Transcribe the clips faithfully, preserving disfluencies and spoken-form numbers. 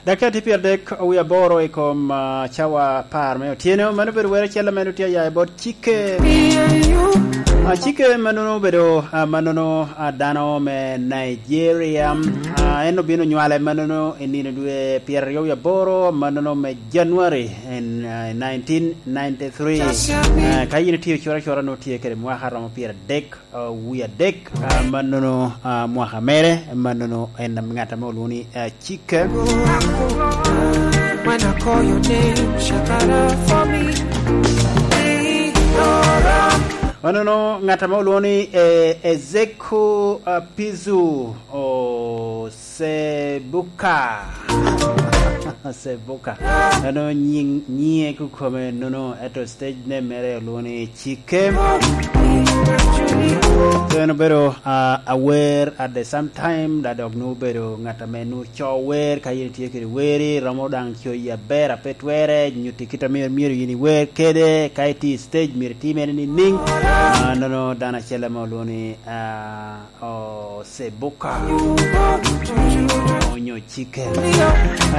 Dakika tye pyeradek wie aboro i kom, ah, cawa apar me otyeno. Mano obedo wer acel ame nwoŋo tye aya i bot Cike. Ah, Cike mannono obedo, ah, mannono, ah, dano me Nigeria. Ah, en obino nywale mannono i nino dwe pyeraryo wie aboro, mannono me January in, ah, nineteen ninety-three. Ah, ka yin itye ocoro acora, nwoŋo tye kede mwaka romo pyeradek, ah, wie adek, ah, mannono, ah, mwaka mere, mannono en ŋat ame olwoŋo ni, ah, Cike. When I call your name, shakara for me. Mannono ŋat ame olwoŋo ni, eh, Ezeku, ah, Pizu Osebuka. Sebuka. Ano nyiŋ, nyiŋe kukome nono, eto stage name mere olwoŋo ni Cike. So en obedo, ah, awer at the same time, da dok nwoŋo obedo ŋat ame nwoŋo co wer, ka yin itye kede weri, romo daŋ coyi aber, a pe twere, nyutti kit ame myero yin iwer kede, ka itye i stage myero itimere niŋniŋ. Ah, nono dano acel ame olwoŋo ni, ah, Osebuka onyo Cike.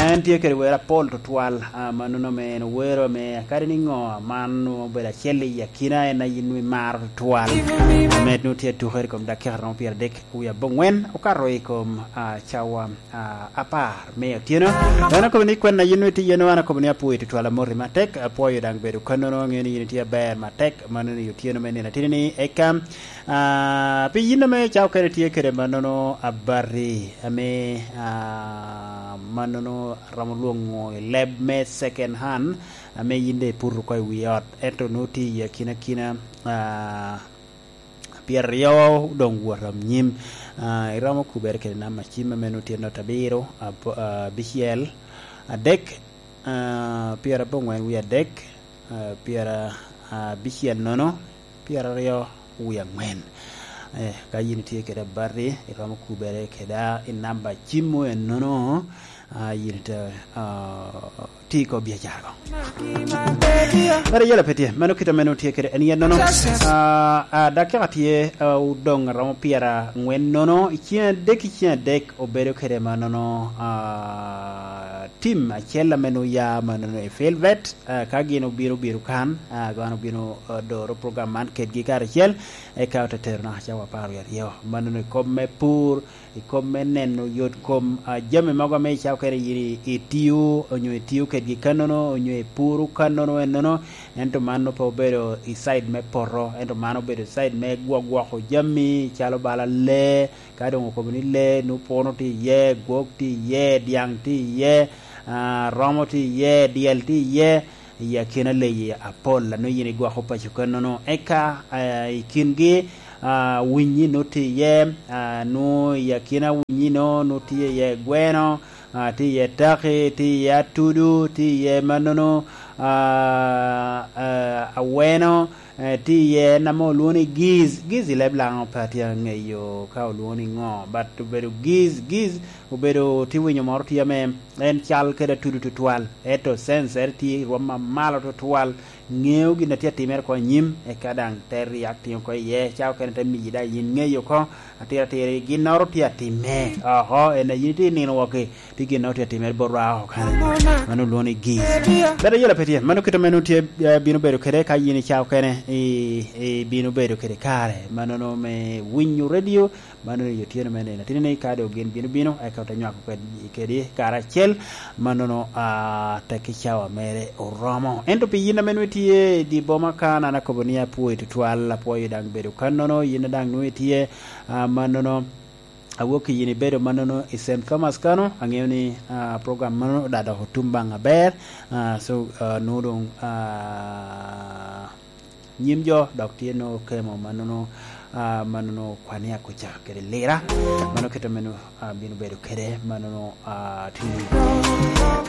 En tye kede wer apol tutwal, ah, mannono ame en owero ame kadi ni ŋo aman obedo acel i akina en a yin imaro tutwal. Ame nwoŋo tye atukere i kom dakika romo pyeradek wie abongwen okato i kom, ah, cawa, ah, apar me otyeno. En akobo ni kwen a yin nwoŋo itye yen, an akobo ni apwoyo tutwal, amoti matek, apwoyo daŋ bedo kannono, aŋeo ni yin itye aber matek, mannono i otyeno me nino atini ni eka Ah, pi yin ame cawa okene tye kede mannono abati, ame, ah, mannono aromo lwoŋo i leb me second hand, ame yin doŋ iputo oko i wi ot, ento nwoŋo tye i akinakina, ah, pyeraryo doŋ wot anyim. Ah, iromo kubere kede namba cim ame nwoŋo tye not abiro, ab-, ah, abicel, adek, ah, pyerabongwen wie adek, ah, pyera, ah, abicel nono, pyeraryo wie angwen. Eh, ka yin itye kede abati, iromo kubere keda i namba cim-mu ennono, ah, yin ite, ah, ti i kop biacara ko. Mere yela pe tye, mano kit ame nwoŋo tye kede en yennono. Ah, ah, dakika tye, ah, odoŋ aromo pyerangwen nono, i ceng adek, i ceng adek obedo kede mannono, ah, tim acel ame nwoŋo ya mannono i Filbert, ah, ka gin obino, obino kan, ah, gin obino, ah, doro program man kedgi karacel, eka ote tero naka cawa apar wie aryo. Mannono i kop me pur, i kop me neno yot kom, ah, jami mogo ame i cawa okene yin i-, itio, onyo itio kedgi kannono, onyo ipuro kannono ennono, ento man nwoŋo pe obedo i side me poto, ento man obedo i side me gwo-, gwoko jami, calo bala lee, ka doŋ okobo ni lee, nwoŋo puno tye iye, gwok tye iye, dyaŋ tye iye, ah, romo tye iye, dyel tye iye, i akina leyi apol, a nwoŋo yin igwoko paco kannono. Eka, ah, i kingi, ah, winyi nwoŋo tye iye, ah, nwoŋo i akina winyi-nu, nwoŋo tye iye gweno, ah, tye iye taki, tye iye atudu, tye iye mannono, ah, ah, aweno, eh, tye iye en ame olwoŋo ni giz. Giz i leb Laŋo pe atye aŋeyo ka olwoŋo ni ŋo, but obedo giz, giz obedo tye winyo moro tye ame en cal kede atudu tutwal, ento censere tye i rwom mamalo tutwal, ŋeo gin a tye atimere oko anyim, eka daŋ te reacting oko iye, ca okene te miyi daŋ yin ŋeyo oko, atira atira ginnoro tye atimme oko, en a yin itye i nino wok-ki, tye ginnoro tye atimere bot rwa oko kany. Mano olwoŋo ni giz. Kadi ayela pe tye, mano kit ame nwoŋo tye, eh, bino bedo kede ka yin i ca okene i, i bino bedo kede kare, mano nwoŋo me winyo radio, mano i otyeno me nino atini ni ka doŋ gin bino bino, eka ote nywako ked-, kedi karacel, mannono, ah, tekki cawa mere oromo. Ento pi yin ame nwoŋo itye i dye boma kan, an akobo ni apwoyi tutwal, apwoyo daŋ bedo kannono, yin daŋ nwoŋo itye, ah, mannono, awok i yin ibedo mannono i Saint Thomas kano, aŋeo ni, ah, program mano daŋ dok otum baŋ aber, ah, so, ah, nwoŋo doŋ, ah, nyim jo dok tye nwoŋo kemo mannono, ah, mannono kwan i akuca kede lira. Mano kit ame nwoŋo, ah, bino bedo kede mannono, ah, tye.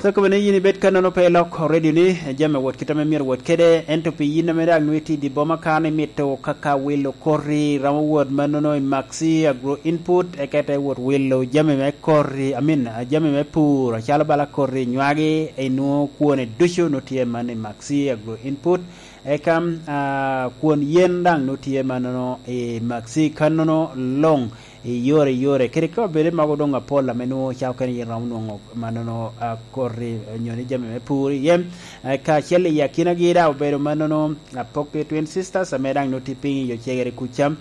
So, kobene yin ibed kannono pe ilok radio ni, jami wot kit ame myero wot kede, ento pi yin ame daŋ nwoŋo itye i dye boma kan imito kaka wilo koti, romo wot mannono i Maxi Agro Input, eka ite wot wilo jami me koti, I mean, ah, jami me pur, acalo bala koti nywagi, inwoŋo kwone ducu nwoŋo tye man i Maxi Agro Input. Eka, ah, kwon yen daŋ nwoŋo tye mannono i Maxi kannono luŋ. i yore, i yore. Kede ka obedo mogo doŋ apol ame nwoŋo ca okene yin romo nwoŋo mannono, a, koti, eh, nyo ni jami me pur iye. Eh, kacel i akinagi daŋ obedo mannono, a, Apoki Twin Sisters ame daŋ nwoŋo tye piny i Ocegere kuca.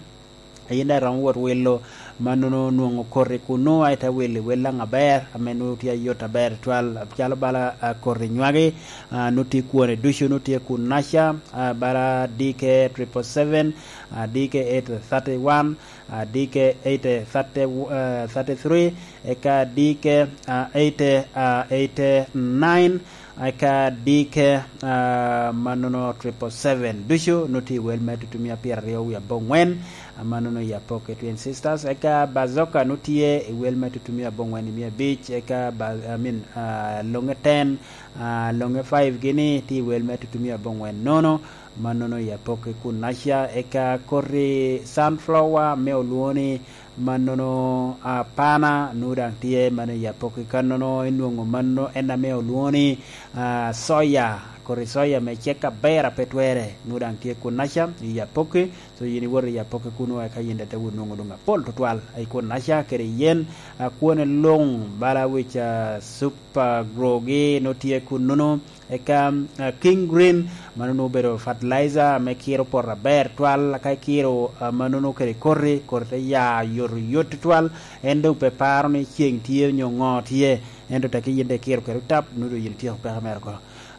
Yin daŋ iromo wot wilo mannono nwoŋo koti kunnu, a ite wilo i wel daŋ aber, ame nwoŋo tye ayot aber twal, calo bala, a, koti nywagi, a, nwoŋo tye kwone ducu, nwoŋo tye kunnaca, a, bala D K triple seven, a, D K eight thirty one, a, D K eight thirty, a, thirty three, eka D K, a, eight, a, eight nine, eka D K, a, mannono triple seven. Ducu nwoŋo tye i wel me tutumia pyeraryo wie aboŋwen, a, mannono i Apoki Twin Sisters. Eka Bazoka nwoŋo tye i wel me tutumia aboŋwen i mia abic, eka ba-, I mean, a, Loŋe ten, a, Loŋe five gini tye i wel me tutumia aboŋwen nono, mannono i Apoki kunnaca. Eka koti Sunflower me olwoŋo ni mannono, a, Pana, nwoŋo daŋ tye mano i Apoki kannono, inwoŋo mano en ame olwoŋo ni, a, soya, koti soya me cek aber a pe twere, nwoŋo daŋ tye kunnaca i Apoki. So yin iwoto i Apoki kuno, eka yin daŋ ite wot nwoŋo doŋ apol tutwal i kunnaca kede yen, a, kwone luŋ, bala wic, a, Super Grow gi nwoŋo tye kunnono. Eka, a, King Green, mano nwoŋo obedo fertilizer ame kiro poto aber twal, ka ikiro, a, mannono kede koti, koti te ya yot, yot twal, en doŋ pe paro ni ceŋ tye nyo ŋo tye, ento tek yin daŋ ikiro kede otap, nwoŋo doŋ yin ityeko peko mere oko.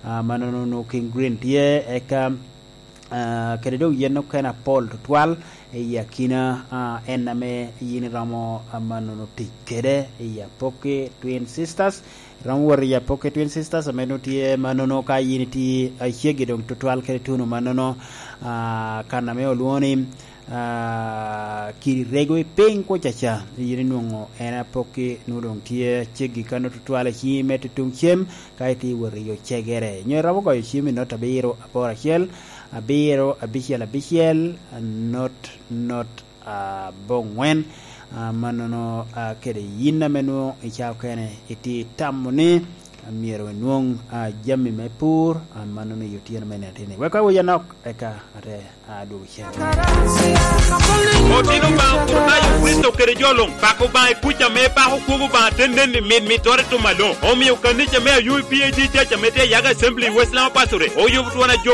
A, mannono nwoŋo King Green tye, eka, a, kede doŋ yen okene apol tutwal i akina, a, en ame yin iromo, a, mannono tic kede i Apoki Twin Sisters. Iromo wot i Apoki Twin Sisters ame nwoŋo tye mannono, ka yin itye aceggi doŋ tutwal kede tuno mannono, a, kan ame olwoŋo ni, a, kiri rego i piny kuca ca, yin inwoŋo en Apoki nwoŋo doŋ tye aceggi kanno tutwal i ciŋi me tutuŋ cem, ka itye wot i Ocegere. Nyo iromo goyo cim i not abiro aboro acel, abiro abicel abicel, not, not aboŋwen, a, mannono, a, kede yin ame nwoŋo i cawa okene itye itamo ni, a, myero inwoŋ, a, jami me pur, a, mannono i otyeno me nino atini. Wek awic anok, eka ate, a, dwogo cen. Otino Obaŋa Opwonyo Kricito kede jo luŋ, pako Obaŋa i kuc ame pako kwogo Obaŋa te nen i mit mittere i tum aloŋ. Omio kanica me Ayub P A G Church ame tye i Yaga Assembly i West Lama Pasture oyubo twon ajo